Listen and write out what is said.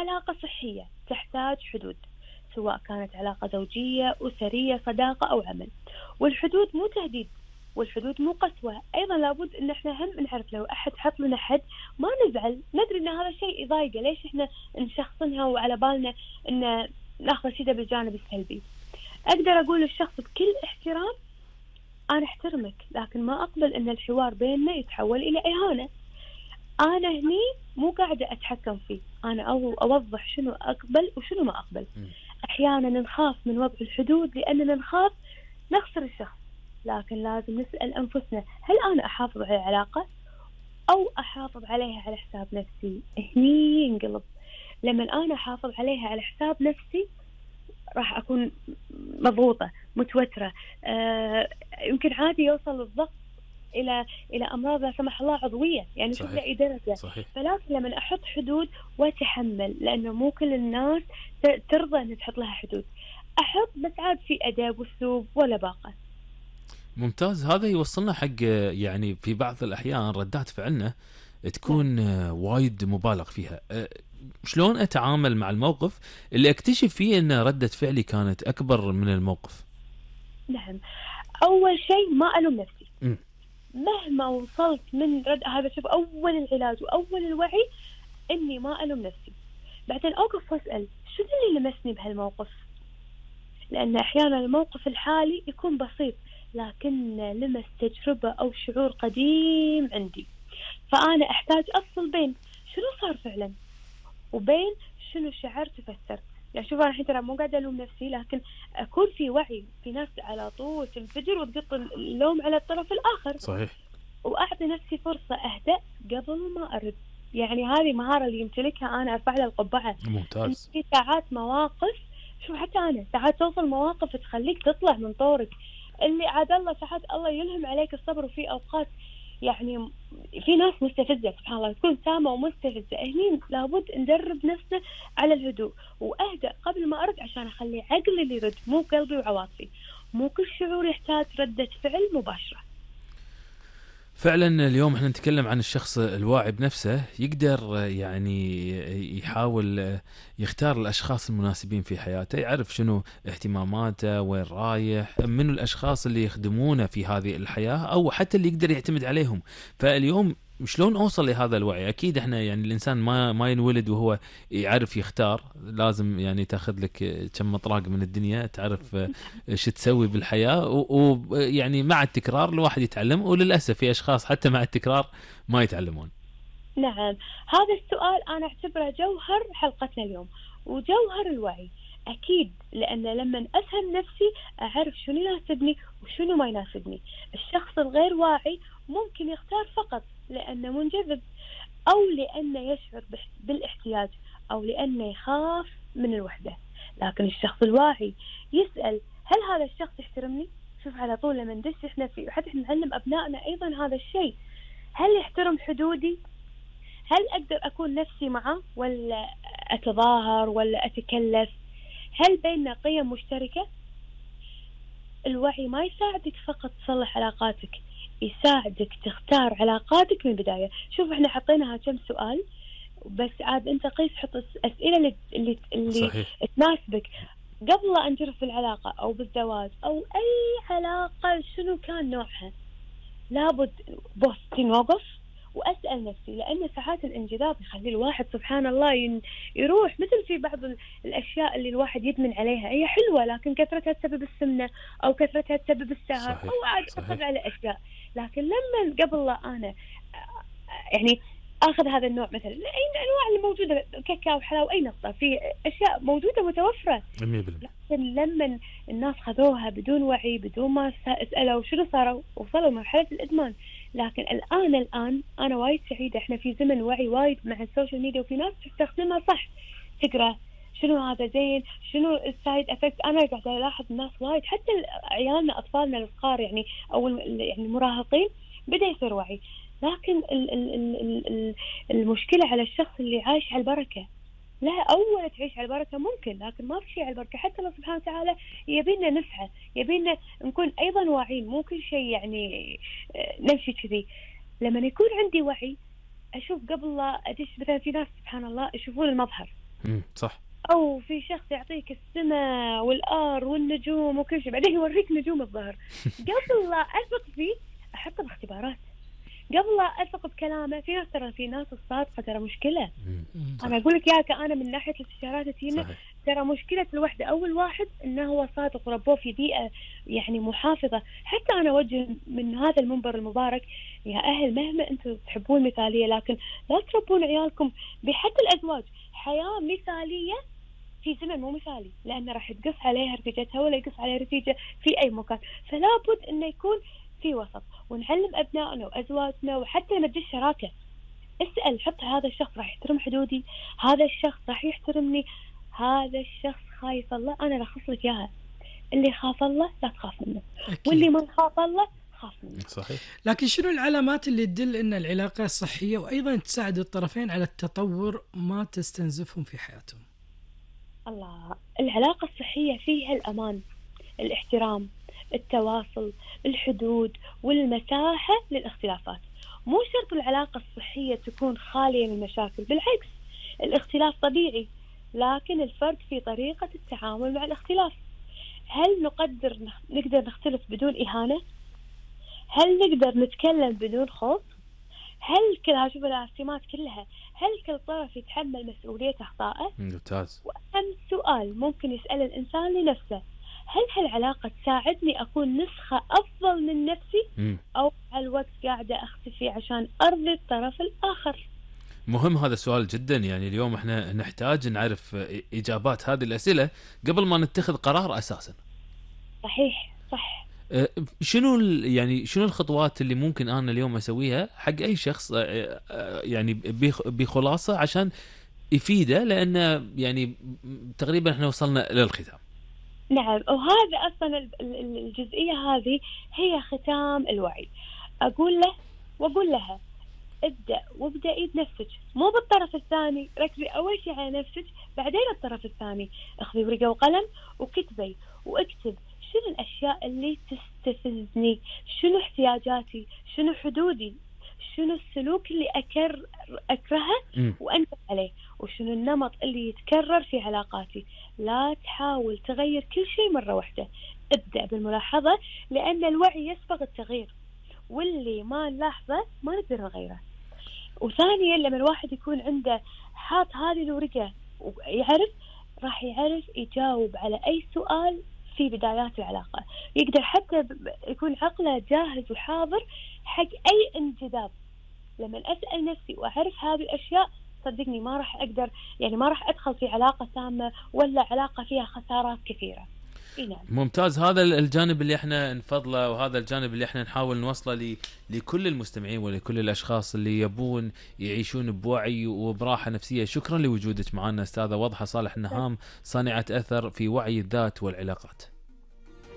علاقة صحية تحتاج حدود، سواء كانت علاقة زوجية، أسرية، صداقة أو عمل. والحدود مو تهديد، والحدود مو قسوة. أيضا لابد إن إحنا هم نعرف لو أحد حط لنا حد ما نزعل، ندري إن هذا شيء يضايقه، ليش إحنا نشخصنها وعلى بالنا إن ناخذ شيء بالجانب السلبي. أقدر أقول للشخص بكل احترام أنا أحترمك، لكن ما أقبل إن الحوار بيننا يتحول إلى إهانة. أنا هني مو قاعدة أتحكم فيه، أنا أوضح شنو أقبل وشنو ما أقبل. أحيانا نخاف من وضع الحدود لأننا نخاف نخسر الشخص، لكن لازم نسأل أنفسنا هل أنا أحافظ على العلاقة أو أحافظ عليها على حساب نفسي؟ هني ينقلب. لما أنا أحافظ عليها على حساب نفسي راح أكون مضغوطة متوترة، يمكن عادي يوصل الضغط إلى أمراض لا سمح الله عضوية، يعني شوف لأي درجة. فلازم لما أحط حدود وأتحمل، لأنه مو كل الناس ترضى أن تحط لها حدود. أحط بس عاد في أدب وأسلوب ولا باقة. ممتاز. هذا يوصلنا حق يعني في بعض الأحيان ردات فعلنا تكون وايد مبالغ فيها. شلون أتعامل مع الموقف اللي أكتشف فيه أن ردة فعلي كانت أكبر من الموقف؟ نعم، أول شيء ما ألوم نفسي. مهما وصلت من رد هذا، شوف أول العلاج وأول الوعي إني ما ألوم نفسي. بعدين أوقف وأسأل شو اللي لمسني بهالموقف، لأن أحيانا الموقف الحالي يكون بسيط لكن لمس تجربة أو شعور قديم عندي. فأنا أحتاج أفصل بين شنو صار فعلا وبين شنو شعرت وفسرت. يعني شوف أنا الحين ترى مو قاعدة ألوم نفسي، لكن أكون في وعي. في ناس على طول تنفجر وتقط اللوم على الطرف الآخر. صحيح. وأعطي نفسي فرصة أهدأ قبل ما أرد. يعني هذه مهارة اللي يمتلكها أنا أرفع لها القبعة. ممتاز. في ساعات مواقف، شوف حتى أنا ساعات توصل مواقف تخليك تطلع من طورك، اللي عاد الله ساعات الله يلهم عليك الصبر. وفي أوقات يعني في ناس مستفزة سبحان الله، تكون سامة ومستفزة. هني لابد ندرب نفسنا على الهدوء وأهدأ قبل ما أرد، عشان أخلي عقلي اللي يرد مو قلبي وعواطفي. مو كل شعور يحتاج ردة فعل مباشرة. فعلا اليوم احنا نتكلم عن الشخص الواعي بنفسه، يقدر يعني يحاول يختار الاشخاص المناسبين في حياته، يعرف شنو اهتماماته، وين رايح، من الاشخاص اللي يخدمونه في هذه الحياة او حتى اللي يقدر يعتمد عليهم. فاليوم شلون اوصل لهذا الوعي؟ اكيد احنا يعني الانسان ما ينولد وهو يعرف يختار، لازم يعني تاخذ لك كم مطراق من الدنيا تعرف شو تسوي بالحياه، ويعني مع التكرار الواحد يتعلم، وللاسف في اشخاص حتى مع التكرار ما يتعلمون. نعم، هذا السؤال انا اعتبره جوهر حلقتنا اليوم وجوهر الوعي. اكيد، لان لما افهم نفسي اعرف شنو يناسبني وشنو ما يناسبني. الشخص الغير واعي ممكن يختار فقط لانه منجذب، او لانه يشعر بالاحتياج، او لانه يخاف من الوحدة. لكن الشخص الواعي يسأل هل هذا الشخص يحترمني؟ شوف على طول لما ندش احنا في، حتى احنا نعلم ابنائنا ايضا هذا الشيء، هل يحترم حدودي؟ هل أقدر أكون نفسي معه ولا أتظاهر ولا أتكلف؟ هل بيننا قيم مشتركة؟ الوعي ما يساعدك فقط تصلح علاقاتك، يساعدك تختار علاقاتك من البداية. شوف احنا حطيناها كم سؤال، بس عاد انت قيس حط أسئلة اللي تناسبك قبل أن تدخل العلاقة أو بالزواج أو أي علاقة شنو كان نوعها. لابد بوستين وقف وأسأل نفسي، لأن ساعات الانجذاب يخلي الواحد سبحان الله يروح. مثل في بعض الأشياء اللي الواحد يدمن عليها، هي حلوة لكن كثرتها تسبب السمنة أو كثرتها تسبب السهر أو عاد أخذ على أشياء. لكن لما قبل لا أنا يعني أخذ هذا النوع، مثلا أي أنواع اللي موجودة كاكاو حلاوة أي نقطة، في أشياء موجودة متوفرة، لكن لما الناس خذوها بدون وعي بدون ما سألوا شنو صاروا وصلوا مرحلة الإدمان. لكن الآن أنا وايد سعيدة، إحنا في زمن وعي وايد مع السوشيال ميديا، وفي ناس تستخدمها صح، تقرأ شنو هذا زين شنو السايد افكت. أنا قاعدة ألاحظ الناس وايد، حتى عيالنا أطفالنا الصغار يعني أو يعني المراهقين بدأ يصير وعي. لكن المشكلة على الشخص اللي عايش على البركة. لا، أول تعيش على البركة ممكن، لكن ما في شيء على البركة. حتى الله سبحانه وتعالى يبينا نسعى، يبينا نكون أيضا واعين، مو كل شيء يعني نمشي كذي. لما يكون عندي وعي أشوف قبل لا أدش. مثلا في ناس سبحان الله يشوفون المظهر، صح. أو في شخص يعطيك السماء والأرض والنجوم وكل شيء، بعدين يوريك نجوم الظهر. قبل لا أثق فيه أحطه باختبارات، قبل لا أثق بكلامه. في ناس الصادقة ترى مشكلة. أنا أقول لك ياك، أنا من ناحية الاستشارات تينا ترى مشكلة الوحدة أول واحد إنه هو صادق وربوه في بيئة يعني محافظة. حتى أنا أوجه من هذا المنبر المبارك يا أهل، مهما أنتم تحبون المثالية، لكن لا تربون عيالكم بحتى الأزواج حياة مثالية في زمن مو مثالي، لأنه راح تقص عليها رفيجتها ولا يقص عليها رفيجة في أي مكان. فلا بد إنه يكون في وسط، ونعلم أبنائنا وأزواجنا وحتى نبدأ الشراكة. اسأل، حط هذا الشخص راح يحترم حدودي، هذا الشخص راح يحترمني، هذا الشخص خايف الله، أنا رخص لك إياها. اللي خاف الله لا تخاف منه، واللي ما خاف الله خاف منه. صحيح. لكن شنو العلامات اللي تدل أن العلاقة صحية وأيضا تساعد الطرفين على التطور ما تستنزفهم في حياتهم؟ الله، العلاقة الصحية فيها الأمان، الاحترام، التواصل، الحدود، والمساحة للاختلافات. مو شرط العلاقة الصحية تكون خالية من المشاكل، بالعكس الاختلاف طبيعي، لكن الفرق في طريقة التعامل مع الاختلاف. هل نقدر نختلف بدون إهانة؟ هل نقدر نتكلم بدون خوف؟ هل كلها، شوف السمات كلها، هل كل طرف يتحمل مسؤولية أخطائه؟ ممتاز. وأهم سؤال ممكن يسأل الإنسان لنفسه، هل هالعلاقة تساعدني أكون نسخة أفضل من نفسي، أو على الوقت قاعدة أختفي عشان أرضي الطرف الآخر؟ مهم هذا السؤال جدا. يعني اليوم احنا نحتاج نعرف إجابات هذه الأسئلة قبل ما نتخذ قرار أساسا. صحيح، صح. شنو يعني شنو الخطوات اللي ممكن أنا اليوم أسويها حق أي شخص يعني بخلاصة عشان يفيده، لأن يعني تقريبا احنا وصلنا للختام. نعم، وهذا أصلا الجزئية هذه هي ختام الوعي. أقول له وأقول لها وابدأي بنفسك، مو بالطرف الثاني. ركزي أول شيء على نفسك، بعدين الطرف الثاني. اخذي ورقة وقلم وكتبي واكتب شنو الأشياء اللي تستفزني، شنو احتياجاتي، شنو حدودي، شنو السلوك اللي أكرهه وأنت عليه، وشنو النمط اللي يتكرر في علاقاتي. لا تحاول تغير كل شيء مرة واحدة، ابدأ بالملاحظة، لأن الوعي يسبق التغيير، واللي ما نلاحظه ما نقدر نغيره. وثانيا لما الواحد يكون عنده حاط هذه الورقة ويعرف، راح يعرف يجاوب على أي سؤال في بدايات العلاقة، يقدر حتى يكون عقله جاهز وحاضر حق أي انجذاب. لما أسأل نفسي وأعرف هذه الأشياء، صدقني ما راح أقدر، يعني ما راح أدخل في علاقة سامة ولا علاقة فيها خسارات كثيرة. نعم. ممتاز. هذا الجانب اللي احنا نفضله، وهذا الجانب اللي احنا نحاول نوصله لكل المستمعين ولكل الأشخاص اللي يبون يعيشون بوعي وبراحة نفسية. شكرا لوجودك معنا أستاذة وضحى صالح النهام، صانعة أثر في وعي الذات والعلاقات.